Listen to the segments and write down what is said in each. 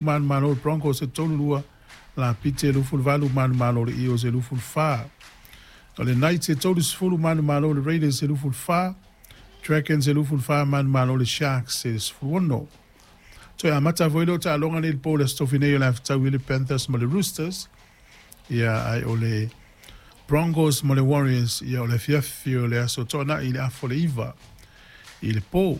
Manumalo le Broncos e 3-2, Lapiti e 28 manumalo le Eels e 24. O le Knights e 30 manumalo le Raiders e 24, Dragons e 24 manumalo le Sharks e 16. Toe amata foi lea o taaloga nei i le po o le Aso Tofi nei o le a fetaui ai le Panthers ma le Roosters, ia ae o le Broncos ma le Warriors ia o le afiafi o le Aso Toonai i le afa o le 9 i le po.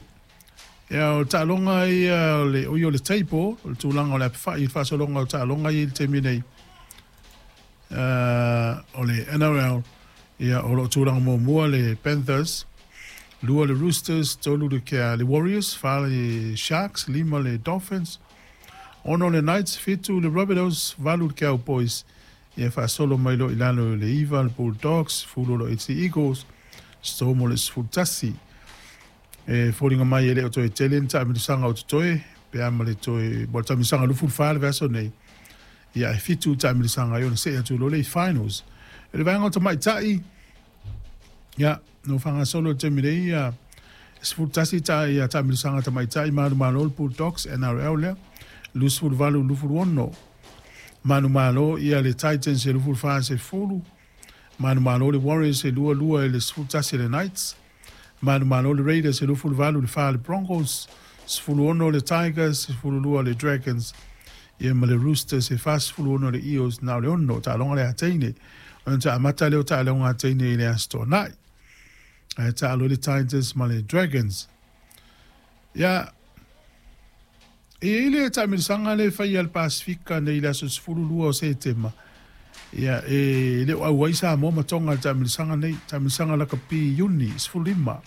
Ia, o taaloga ia o le, oi o le table, o le tulaga o le apefai i le faasologa o taaloga ia i le taimi nei. O le NRL, ia, o lo o tulaga muamua le Panthers, 2 le Roosters, 3 le, kea, le Warriors, 4 le Sharks, 5 le Dolphins, 6 le Knights, 7 le Rabbitohs, 8 le Cowboys, ia faasolo mai loa i lalo i le 9 le Bulldogs, 10 le AC Eagles, Storm o le 11. E foliga mai e le o toe tele ni taamilosaga o totoe pe a ma le toe mo le taamilosaga 24 le vaiaso nei, ia ae 7 taamilosaga ai ona see atu loa lea i finals. I le vaega o tamaitai, ia no faagasolo i le taimi nei ia 11 ta ia taamilosaga tamaitai manumalo le Bulldogs NRL lea 28 26 manumalo ia le Titans e 24 10 manumalo le Warriors e 22 i le 11 le Knights. Manumalo le Raiders e 28 i le 4 le Broncos, 16 le Tigers, 12 le Dragons, ia ma le Roosters e 46 le Eels, na o le 6 taaloga le ateine. Ona ta amata lea o taaloga ateine i le Aso Toonai. Ae taalo le Tigers ma le Dragons. Ia, e i ai le taamilosaga lea e fai a le Pasefika nei i le aso 12 o Setema. Ia, e le o auai Samoa ma Tonga i le taamilosaga nei, taamilosaga lakapi Iuni 15.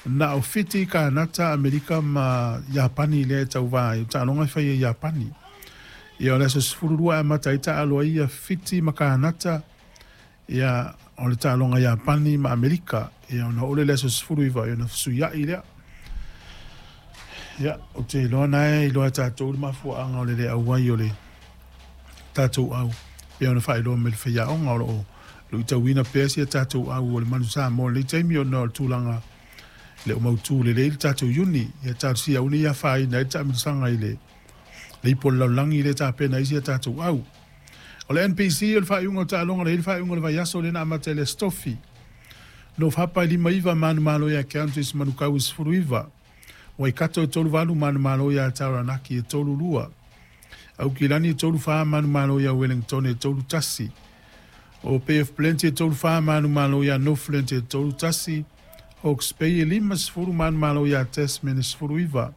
Na o Fiti, Kanata, Amerika ma Iapani lea e tauva ai, o taaloga e fai e Iapani. Ia, o le aso 12 e amata ai taalo ai ia Fiti ma Kanata, ia, o le taaloga Iapani ma Amerika, ia, ona oo lea i le aso 19, ia ona fesuiai lea. Ia, ou te iloa na e iloa e tatou le mafuaaga o le le auai o le tatou au, pei ona faailoa mai le faiaoga o lo o luitauina pea si a tatou au o le Manu Samoa i lenei taimi ona o le tulaga le o mautu lelei le tatou iuni. Ia talosia aua ne i afaina ai le taamilosaga i le ipu o le lalolagi lea e tapena ai si a tatou au. O le NPC o le faaiuga o taaloga lea i le faaiuga o le vaiaso lea na amata i le Aso Tofi. North Hapa e 59 manumalo ia Countess Manukau e 19. Waikato e 38 manumalo ia Taranaki e 32. Aukilani e 34 manumalo ia Wellington e 31. O Bay of Plenty e 34 manumalo ia Northland e 31. Hawke's Bay e 50 manumalo ia Tasman e 19.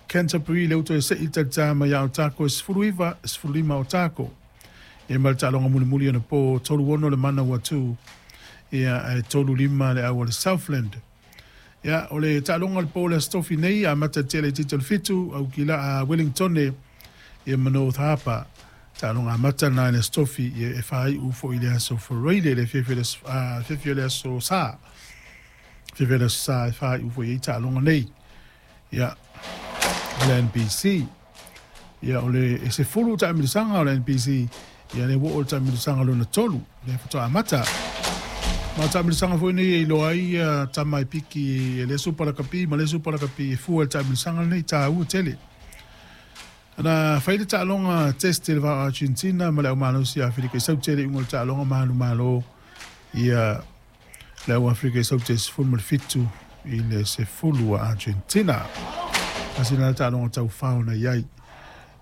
Canterbury lea ua toe sei talitā mai ia Otago e 19, 15 Otago. Ia ma le taaloga mulimuli ona po 36 le mana ua tu ia ae 35 le au a le Southland. Ia o le taaloga o le po o le Aso Tofi nei amata tele i te o le 7 au ki la a Wellingtone ia ma North Harbour. Taaloga amata na i le Aso Tofi ia e whāiu foi i le Aso Faraile le fiafia o le Aso Sa. Fiafia o le Aso Sa e whāiu foi ai taaloga nei. Ia, o le NPC. Ia, o le e 10 taamilosaga o le NPC. Ia, lea ua oo le taamilosaga lona 3. Lea faatoa amata. Ma o taamilosaga foi nei e iloa ai ia tama e piki e le Super Lakapi ma le Super Lakapi e fua i le taamilosaga lenei, taua tele. Na fai le taaloga test i le va o Argentina ma le au malosi a Aferika i Saute le iuga o le taaloga ma alu malo ia le au Afrika i Saute 17 i le 10 a Argentina. Tasi lena taaloga taufao na i ai.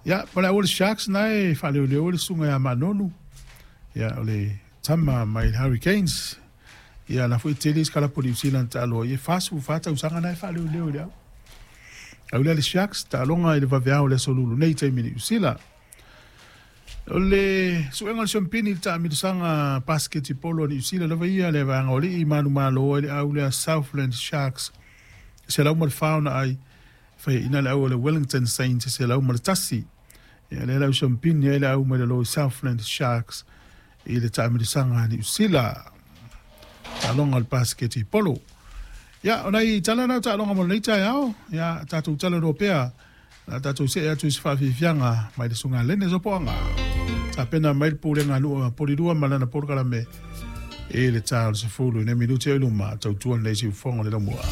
Ia, ma le au o le Sharks na e faaleoleo le susuga ia Manonu. Ia, o le tama mai le Hurricanes. Ia, la foi tele isi kalapu o Niu Sila na taaloa ai, e 44 tausaga na e faaleoleo i le au. Au lea le Sharks, taaloga i le vaveao o le aso Lulu nei taimi i Niu Sila. O le suega o le siampini i le taamilosaga basketipolo a Niu Sila lava ia le vaega o alii manumalo ai le au lea Southland Sharks e 104 ona ai faiaina le au o le Wellington Saints e 101. Ia lea le au siampini ai le au mai lalo i Southland Sharks i le taamilosaga a Niu Sila. Taaloga o le basketipolo. Ia, o nai tala na o taaloga mo lenei taeao. Ia, tatou talanoa pea. Na tatou see atu i se faafiafiaga mai le Susuga Lene Sopoaga. Tapena mai le pulega a nuu a Polilua ma lana polokalame i le ta o le 10 i nai minuti o i luma, tautua lenei siufofoga o le laumua.